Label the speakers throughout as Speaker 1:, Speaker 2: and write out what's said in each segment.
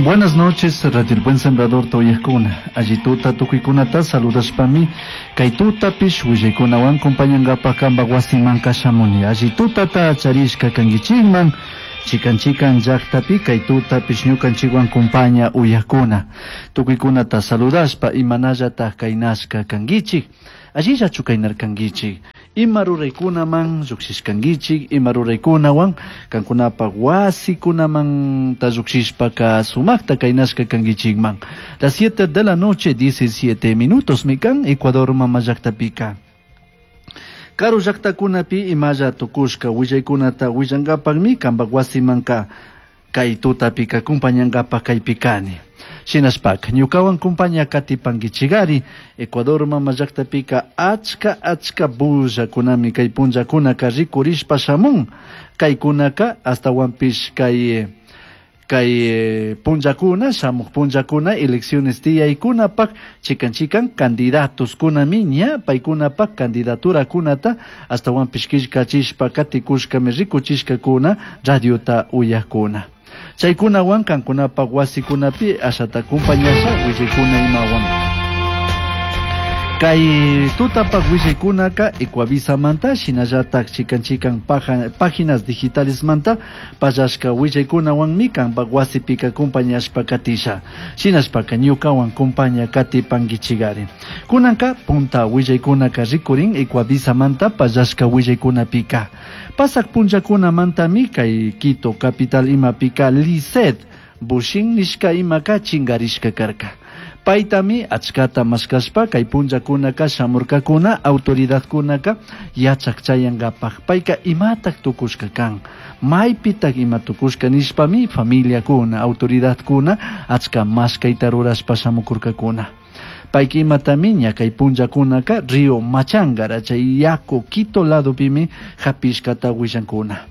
Speaker 1: Buenas noches, Radio El Buen Sembrador uyajkuna. Alli tuta tukuykunata saludashpami kay tutapish willaykunawan compañangapaj kanpak wasimanka shamuni. Alli tutata charishka kankichikman, chikan chikan llaktapi kay tutapish ñukanchikwan compaña uyajkuna. Tukuykunata saludashpa imanallataj kaynashka kankichik. Allillachu kaynarkankichik. Ima ruraykunaman llukshishkankichik, ima ruraykunawan kankunapak wasikunamanta llukshishpaka sumakta kaynashka kankichikman. Las 7 de la noche, 17 minutos mikan Ecuador mama llaktapika. Karu llaktakunapi imalla tukushka willaykunata willankapakmi kanpak wasimanka kay tutapika kumpañankapak kaypi kani. Shinashpaka ñukawan kumpaña katipankichikari Ecuador mama llaktapika achka achka bullakunami kay punllakunaka rikurishpa shamun. Kaykunaka astawanpish kay kay punllakuna shamuq punllakuna elecciones tiyaykunapak chikan chikan candidatos kunami ña paykunapak candidaturakunata astawanpish killkachishpa katikushkami rikuchishkakuna radiota uyajkuna. Chaykunawan kankunapak wasikunapi ashata kumpañasha willaykuna imawan. Kay tutapak willaykunaka Ecuavisamanta shinallatak chikan chikan páginas digitalesmanta pallashka willaykunawanmi kanpak wasipika kumpañashpa katisha. Shinashpaka ñukawan kumpaña katipankichikari. Kunanka punta willaykunaka rikurin Ecuavisamanta pallashka willaykunapika. Pasak punllakunamantami kay Quito capital imapika Lisset Bushin nishka imaka chingarishka karka. Paytami achkata mashkashpa kay punllakunaka shamurkakuna autoridadkunaka yachak chayankapak. Payka imatak tukushka kan, maypitak ima tukushka nishpami familiakuna, autoridadkuna achka mashkayta rurashpa shamukurkakuna. Payka imatami ña kay punllakunaka Río Machángara chay yaku Quito ladopimi hapishkata willankuna.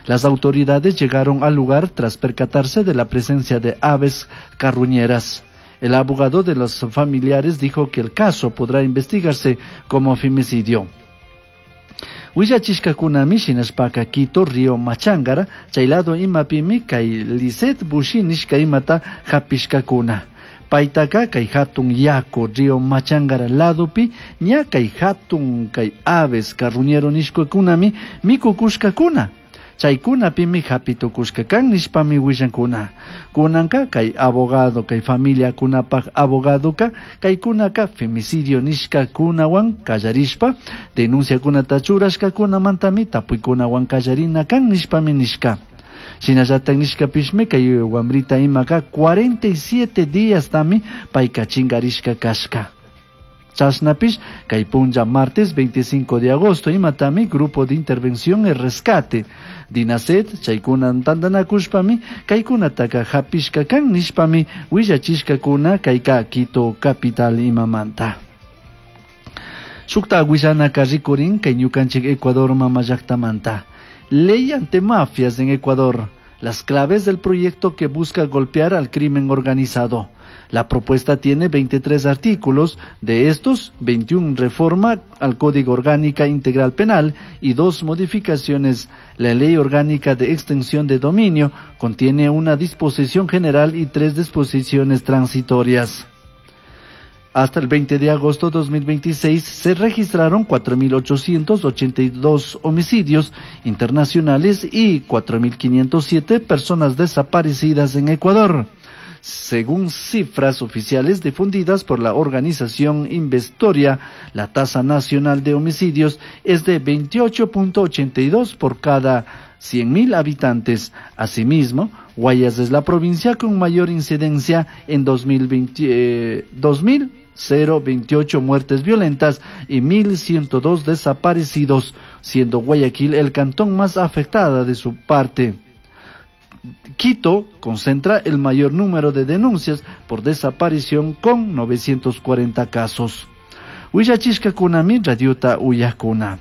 Speaker 1: Las autoridades llegaron al lugar tras percatarse de la presencia de aves carroñeras. El abogado de los familiares dijo que el caso podrá investigarse como femicidio. Willachishkakunami shinashpaka Quito Río Machángara chay lado imapimi kay Lisset Bushin nishka imata hapishkakuna. Paytaka kay hatun yaku Río Machángara ladopi ña kay hatun kay aves carroñero nishkakunami mikukushkakuna. Chaykunapimi hapitukushka kan nishpami willankuna. Kunanka kay abogado kay familiakunapak abogadoka kaykunaka femicidio nishkakunawan kallarishpa denunciakunata churashkakunamantami tapuykunawan kallarina kan nishpami nishka. Shinallatak nishkapishmi kay wamrita imaka 47 días tami payka chingarishka kashka. Chashnapish kay punlla martes 25 de agosto imatami Grupo de Intervención y Rescate Dinased chaykuna tantanakushpami kaykunataka hapishka kan nishpami willachishkakuna kayka Quito capital imamanta. Shukta willanaka rikurin kay ñukanchik Ecuador mama llaktamanta. Ley antimafias en Ecuador. Las claves del proyecto que busca golpear al crimen organizado. La propuesta tiene 23 artículos, de estos 21 reforma al Código Orgánica Integral Penal y 2 modificaciones. La Ley Orgánica de Extinción de Dominio contiene una disposición general y 3 disposiciones transitorias. Hasta el 20 de agosto de 2026 se registraron 4.882 homicidios internacionales y 4.507 personas desaparecidas en Ecuador, según cifras oficiales difundidas por la organización Investoria. La tasa nacional de homicidios es de 28.82 por cada 100.000 habitantes. Asimismo, Guayas es la provincia con mayor incidencia en 2028 muertes violentas y 1.102 desaparecidos, siendo Guayaquil el cantón más afectada de su parte. Quito concentra el mayor número de denuncias por desaparición con 940 casos. Willachishkakunami radiota uyajkuna.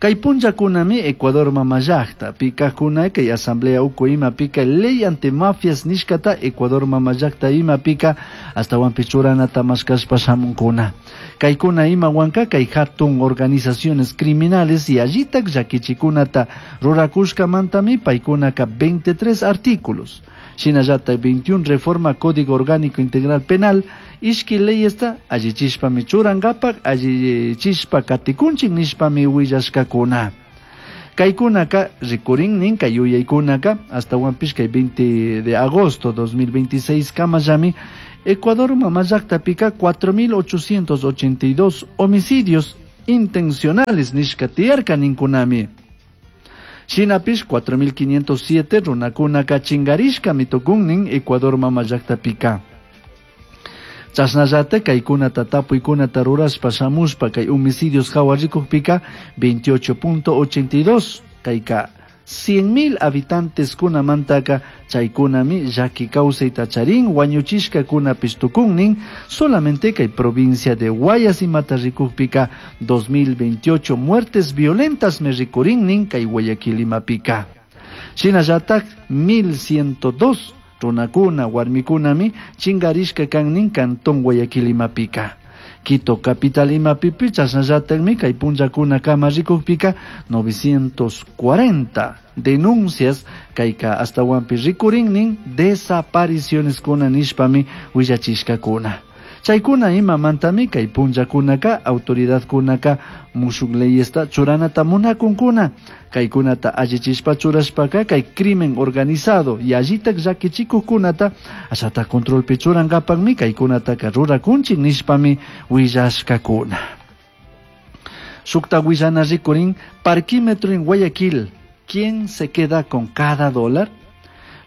Speaker 1: Kay punllakunami Ecuador mamallakta pikakuna kay asamblea uku imapika ley antimafias nishkata Ecuador mamallakta imapika ashtawanpish churanata mashkashpa shamunkuna. Kaykuna imawanka kay hatun organizaciones criminales yallitak llakichikunata rurakushkamantami paykunaka 23 artículos. Shinallata 21 reforma Código Orgánico Integral Penal ishki leyesta allichishpami churankapak allichishpa katikunchik nishpami willashkakuna. Kaykunaka rikurin kay yuyaykunaka ashtawanpish kay 20 de agosto 2026 kamallami Ecuador mamallaqtapika 4.882 homicidios intencionales nishka tiyarka ninkunami. Shinapish 4.507 runakunaka chinkarishkami tukunnin Ecuador mamallaqtapika. Chashnallata kaykunata tapuykunata rurashpa shamushpa kay homicidios hawa rikukpika 28.82 kayka 100.000 habitantes kunamantaka chaykunami llaki kawsayta charin wañuchishkakunapish tukunnin solamente kay provincia de Guayas imata rikukpika 2028 muertes violentas me rikurinnin kay Guayaquil imapika. Shinallatak 1102 runakuna warmikunami chinkarishka kannin cantón Guayaquil imapika. Quito capital imapipi chasnallatakmi kay punllakuna kama rikukpika 940 denuncias kayka ashtawanpi rikurinnin desapariciones kuna nishpami willachishkakuna. Chaykuna imamantami kay punllakunaka autoridadkunaka mushuk leyesta churanata munakunkuna. Kaykunata allichishpa churashpaka kay crimen organizado yallitak llakichikuqkunata ashata controlpi churankapakmi kaykunataka rurakunchik nishpami willashkakuna. Shukta willana rikurin parquímetro en Guayaquil. ¿Quién se queda con cada dólar?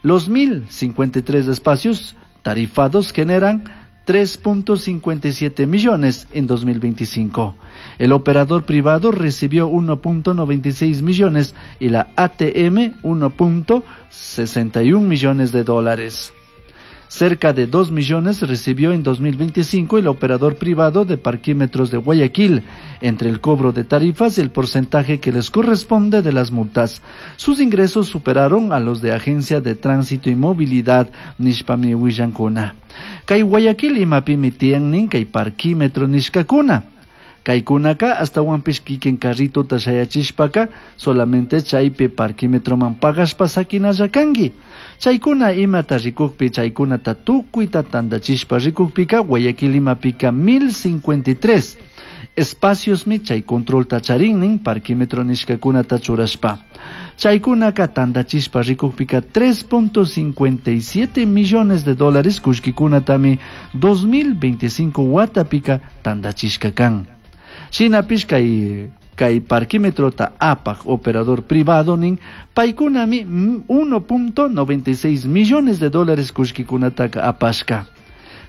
Speaker 1: Los 1.053 espacios tarifados generan 3.57 millones en 2025. El operador privado recibió 1.96 millones y la ATM 1.61 millones de dólares. Cerca de 2 millones recibió en 2025 el operador privado de parquímetros de Guayaquil, entre el cobro de tarifas y el porcentaje que les corresponde de las multas. Sus ingresos superaron a los de Agencia de Tránsito y Movilidad nishpami willankuna. Kay Guayaquil imapimi tiyannin kay parquímetro nishkakuna. Kaykunaka ashtawanpish kikin carritota shayachishpaka solamente chaypi parquímetroman pagashpa sakinalla kanki. Chaykuna imata rikukpi chaykunata tukuyta tantachishpa rikukpika Guayaquil imapika 1053 espaciosmi chay controlta charinnin parquímetro nishkakunata churashpa. Chaykunaka tantachishpa rikukpika 3.57 millones de dólares kullkikunatami 2025 watapika tantachishka kan. Shinapish kay parquímetrota apak operador privado nin paykunami 1.96 millones de dólares kullkikunataka apashka.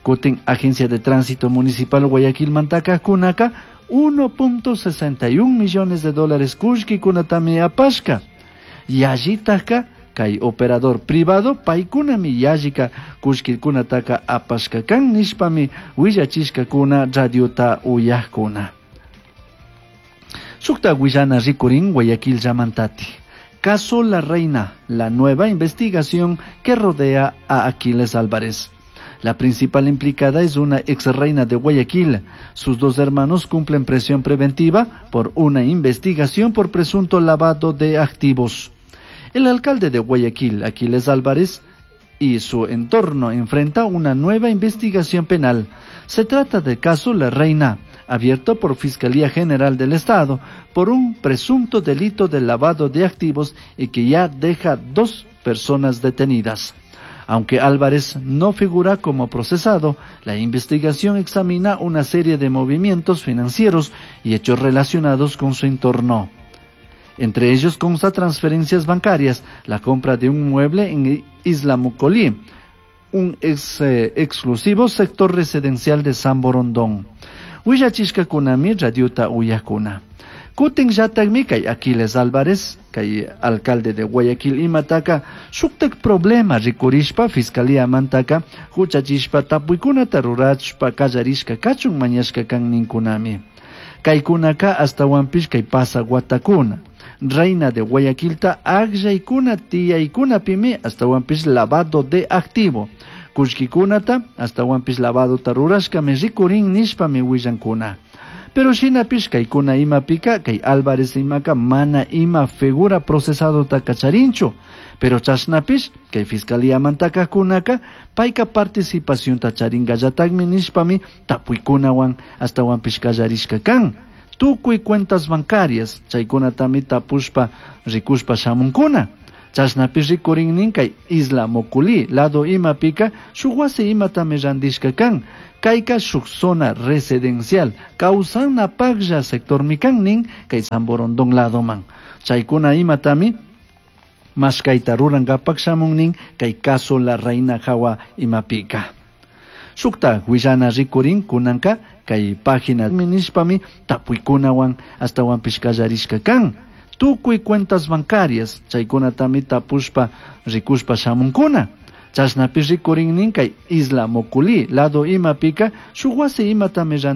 Speaker 1: Kutin Agencia de Tránsito Municipal Guayaquil mantaka kunaka 1.61 millones de dólares kullkikunatami apashka. Yallitaka kay operador privado paykunami yallika kullkikunataka apashka kan nishpami willachishkakuna radiota uyajkuna. Shukta willana rikurin Guayaquil llamantati. Caso La Reina, la nueva investigación que rodea a Aquiles Álvarez. La principal implicada es una ex reina de Guayaquil. Sus dos hermanos cumplen prisión preventiva por una investigación por presunto lavado de activos. El alcalde de Guayaquil, Aquiles Álvarez, y su entorno enfrenta una nueva investigación penal. Se trata del caso La Reina, abierto por Fiscalía General del Estado por un presunto delito de lavado de activos y que ya deja 2 personas detenidas. Aunque Álvarez no figura como procesado, la investigación examina una serie de movimientos financieros y hechos relacionados con su entorno. Entre ellos consta transferencias bancarias, la compra de un mueble en Isla Mocolí, un exclusivo sector residencial de San Borondón. Willachishkakunami radiota uyakuna. Kutin llatakmi kay Aquiles Álvarez, kay alcalde de Guayaquil imataka, shuktak problema rikurishpa fiscalía mantaka, huchachishpa tapuykunata rurachpa kallarishka kachun mañashka kan ninkunami. Kaykunaka astawanpish kay pasaq watakuna. Reina de Guayaquilta akllaykuna tiyaykunapimi astawanpish lavado de activo. Kullkikunata astawanpish lavadota rurashkami rikurin nishpami willankuna. Pero shinapish kaykuna imapika kay Álvarez imaka mana ima figura procesadota kacharinchu. Pero chashnapish kay fiscalía kunaka payka participacionta charingallatagmi nishpami tapuykunawan astawanpish kallarishka kan. Tukuy cuentas bancarias chaykunatami tapushpa rikushpa shamunkuna. Chashnapish rikurin kay Isla Moculí lado imapika shuk wasi imatami randishka kan. Kayka shuk zona residencial kawsanapaklla sectormi kan nin kay Samborondón ladoman. Chaykuna imatami mashkayta rurankapak shamun nin kay caso La Reina hawa imapika. Shukta willana rikurin kunanka kay página nishpami tapuykunawan astawanpish kallarishka kan. Tukuy cuentas bancarias chaykunatami tapushpa rikushpa shamunkuna. Chashnapish rikurin nin kay Isla Moculí lado imapika shuk wasi imatami.